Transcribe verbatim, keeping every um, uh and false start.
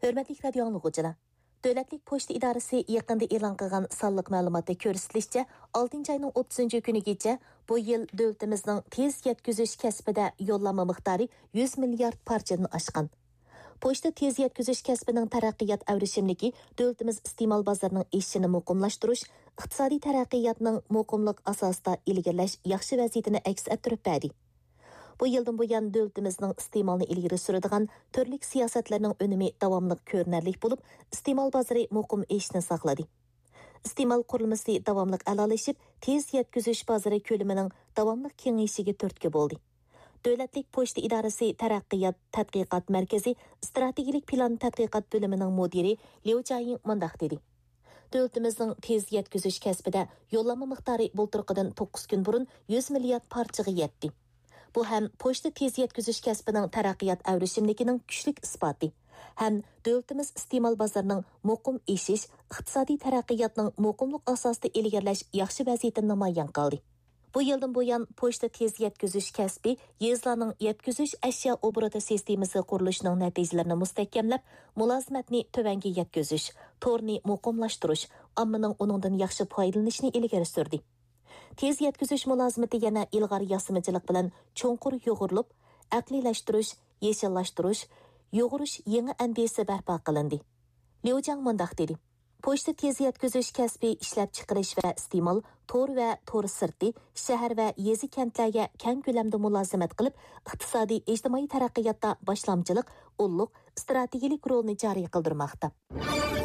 ھۆرمەتلىك رادىيو ئاڭلىغۇچىلار! دۆلەتلىك پوچتا ئىدارىسى يېقىندا ئېلان قىلغان سانلىق مەلۇماتتا كۆرسىتىلىشىچە، ئالتىنچى ئاينىڭ ئوتتۇزىنچى كۈنىگىچە بۇ يىل دۆلىتىمىزنىڭ تېز يەتكۈزۈش كەسپىدە يوللانما مىقدارى يۈز مىليارد پارچىدىن ئاشقان. پوچتا تېز يەتكۈزۈش كەسپىنىڭ تەرەققىيات ئەۋرىشىملىكى دۆلىتىمىز ئىستېمال بازىرىنىڭ ئېشىشىنى مۇقىملاشتۇرۇش، ئىقتىسادىي تەرەققىياتنىڭ مۇقىملىق ئاساسىدا ئىلگىرىلەش ياخشى ۋەزىيىتىنى ئەكس ئەتتۈرۈپ بەردى. بۇ يىلدىن بۇيان، دۆلىتىمىزنىڭ ئىستېمالنى ئىلگىرى سۈرىدىغان تۈرلۈك سىياسەتلەرنىڭ ئۈنۈمى داۋاملىق كۆرۈنەرلىك بولۇپ، ئىستېمال بازىرى مۇقىم ئېشىشنى ساقلىدى. ئىستېمال قۇرۇلمىسى داۋاملىق ئەلالىشىپ، تېز يەتكۈزۈش بازىرى كۆلىمىنىڭ داۋاملىق كېڭىيىشىگە تۈرتكە بولدى. دۆلەتلىك پوچتا ئىدارىسى تەرەققىيات تەتقىقات مەركىزى ئىستراتېگىيەلىك پىلان تەتقىقات بۆلۈمىنىڭ مۇدىرى ليۇ جياڭ مۇنداق دېدى: دۆلىتىمىزنىڭ تېز يەتكۈزۈش كەسپىدە يوللانما مىقدارى بۇلتۇرقىدىن توققۇز كۈن بۇرۇن يۈز مىليارد پارچىغا يەتتى. بۇ ھەم پوچتا تېز يەتكۈزۈش كەسپىنىڭ تەرەققىيات ئەۋرىشىملىكىنىڭ كۈچلۈك ئىسپاتى، ھەم دۆلىتىمىز ئىستېمال بازىرىنىڭ مۇقىم ئېشىش، ئىقتىسادىي تەرەققىياتنىڭ مۇقىملىق ئاساسىدا ئىلگىرىلەش ياخشى ۋەزىيىتىنى نامايان قىلدى. بۇ يىلدىن بۇيان، پوچتا تېز يەتكۈزۈش كەسپى يېزىلارنىڭ يەتكۈزۈش ئەشيا ئوبوروتى سىستېمىسى قۇرۇلۇشىنىڭ نەتىجىلىرىنى مۇستەھكەملەپ، مۇلازىمەتنى تۆۋەنگە يەتكۈزۈش، تورنى مۇقىملاشتۇرۇش، ئاممىنىڭ ئۇنىڭدىن ياخشى پايدىلىنىشىنى ئىلگىرى سۈردى. تېز يەتكۈزۈش مۇلازىمىتى يەنە ئىلغار ياسىمىچىلىق بىلەن چوڭقۇر يۇغۇرۇلۇپ، ئەقلىيلەشتۈرۈش، يېشىللاشتۇرۇش، يۇغۇرۇش يېڭى ئەندىزىسى بەرپا قىلىندى. ليۇ جياڭ مۇنداق دېدى: پوچتا تېز يەتكۈزۈش كەسپى ئىشلەپچىقىرىش ۋە ئىستېمال، تور ۋە تور سىرتى، شەھەر ۋە يېزا-كەنتلەرگە كەڭ كۆلەمدە مۇلازىمەت قىلىپ، ئىقتىسادىي، ئىجتىمائىي تەرەققىياتتا باشلامچىلىق، ئۇللۇق ئىستراتېگىيەلىك رولنى جارى قىلدۇرماقتا.